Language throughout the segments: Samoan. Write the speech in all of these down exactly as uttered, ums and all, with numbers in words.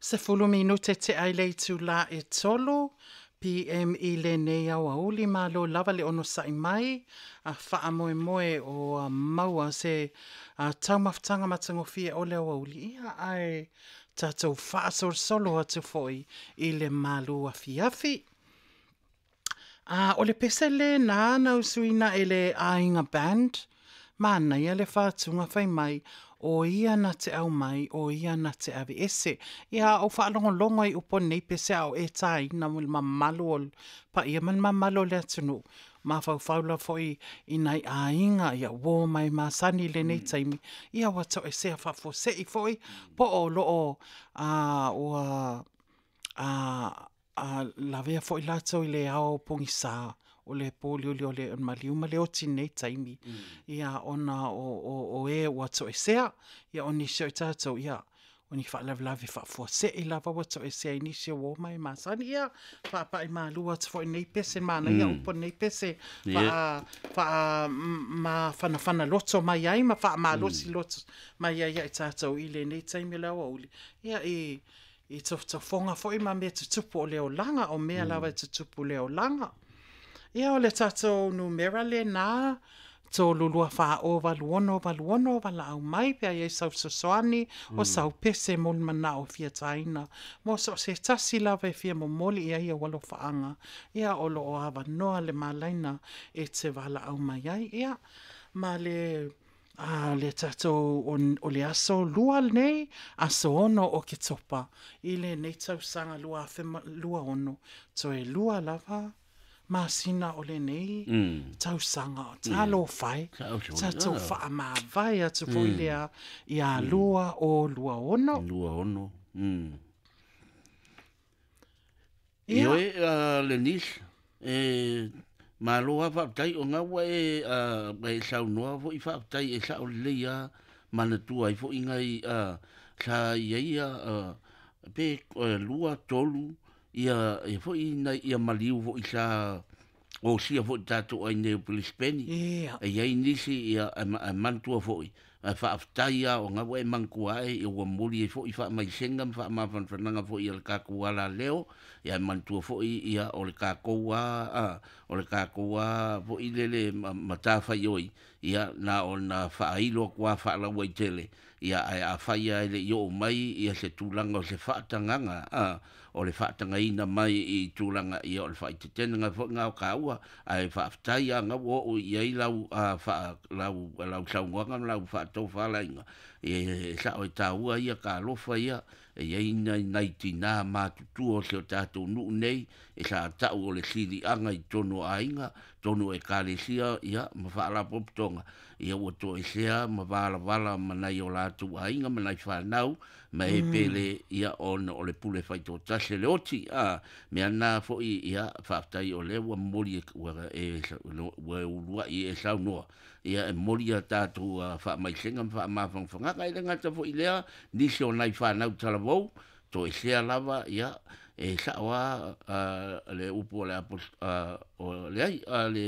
Sefulu minute te ai le itulā e tolu P M i lenei aoauli malo lava le ono sa'i mai a faamoemoe o a maua se a taumafataga matagofie o le aoauli ia ae tatou faasolosolo atu foi i le malu afiafi. A o le pese lena na usuina e le Aiga Band, manaia le faatuga fai mai, o ia na te au mai, o ia na te ave ese. Ia o whaalongolongo i upo nei pese au e tāina mo le mamalu o pa ia man mamalu o le atunu. Mawhauwhaula foi i nai aiga, ia wō mai masani le nei taimi. Ia wato e sea whafose i foi, po o loo a ua a a lavea foi lātou i le ao pogisa o le pōlioli o le maliu ma le oti nei taimi. Ia ona o, o, o e ua toesea, ia o nisi o i tātou, ia o ni whaalavelawe whaafuase'i lava ua toesea i nisi o o mai masani, ia whaapai mālua atu foi nei pese mana, ia upo nei pese, wha, wha ma whanawhana loto mai ai, ma wha malosi loto mai ai ia i tātou i le nei taimi o le aoauli. Ia i i tofotofoga foi ma mea tutupu o le olaga, o mea lava e tutupu le olaga. Ia o le tātou numera le nā, tolu lua wha o walu ono walu ono wala au mai pea ia sau sosoani o sau pese mo le mana o fia taina. Mo so se tasi lava e fia momoli ia ia walo whaanga. Ia o lo o awa noa le malaina e te wala au mai ai. Ia ma le a le tātou o, o le aso lua nei, aso ono o ke topa. I le nei tausanga lua awhe lua ono. Toe lua lava masina o le nei mm. tausanga o talo whai, tātou whaamawai atu foi mm. lea ia lua o lua ono. Lua ono. Mm. Ia. Ioe, uh, le nis, e, malo a whaatai o ngaua e, uh, e saunoa foi whaatai e sao lei a manatua i foi ngai uh, sa ia ia uh, pe uh, lua tolu ia e foi nai ia maliu foi sa o sia foi tātou ai nei o Brisbane. Ia. E iai nisi ia e, e mantua foi e whaaftai a o ngaua e mangkua e e ua moli e foi whaamaisenga ma whaamafanfanaga foi ia le kākou ala leo ia e mantua foi ia o le kākou a, a o le kākou a foi lele matawhai oi ia na o na whaailo kua whaalaua i tele ia e a whaia e le i o mai ia se tūlanga o se whaatanganga a o le whaatangaina mai i tūlanga ia o le whaitetenga foi ngā o kāua a e whaaftai a ngau o i ai lau a wha, lau, lau saungoanga ma lau whaatau whalainga e sao e tāua ia ka alofa ia e iai nai nai tinā mātutua o se o tātou nuu nei e sa tau o le silianga i tono aiga tono e kalesia ia ma whaalapopotonga ia ua toesea ma valavala ma nai o lātou aiga ma nai whanau ma e pele ia ona o le pule whaitotase le oti a mea nā foi ia whaaftai o le ua moli e, ua e, ua uluai e saunoa ia e moli a tātou uh, whaamaisenga ma whaamawhangawhangaka e le ngata foi lea nisi o nai whanau talavou toesea lava ia e sao a uh, le upu o le apos uh, o le ai a le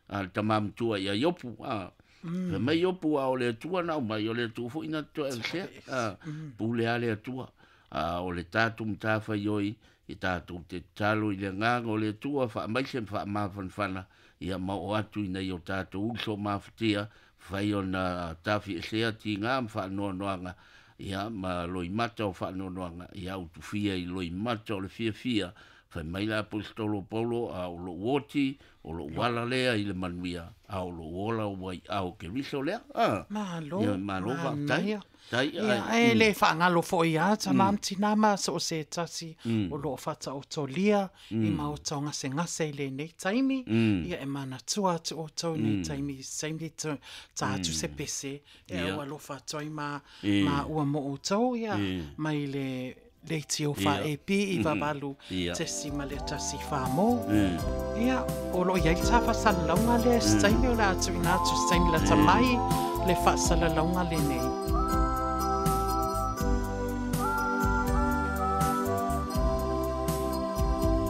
a le tamamtua ia Iopu a mm. Mai Iopu a o le atua na mai o le atua foi na toa e a pule a le atua a o le tātou mtāwhai oi i tātou te talo i le nganga o le atua whaamaise whaamafanfana ia mau o atu i nei o tātou uso mawhatia whai o na tāwhi e sea ti ngā whaanoanoanga ia ma loimata o whaanoanoanga ia utuwhia i loimata o le fiafia whai mai la apostolo Paulo a o lo oti o lo wala lea i le manuia a o lo ola o wai ao ke riso lea a malo ia malo whaatai tai ia e le whaangalo foi a ta mamtina ma so se tasi o lo whata o tolia i maota o ngase ngase i le nei taimi ia e manatua atu o tau nei taimi taimi ta atu se pese e ua lo whatoi ma ma ua mo o tau ia mai le leiti o wha e pi i wawalu tesi ma le tasi wha mo. Ia, o lo iai tā whasalalaunga le staimi o le atu ina atu staimi la tamai le whasalalaunga le nei.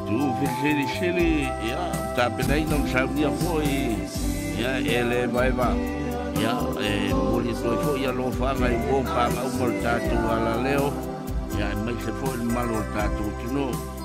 Tu whisiri sili, ia, tāpenaina msaunia foi, ia, e le vaeva, ia, e moli toi foi ia lofaga i wō pānga umo le tātou ala leo, ia, e mai se foi mamalu o le tatou atunuu.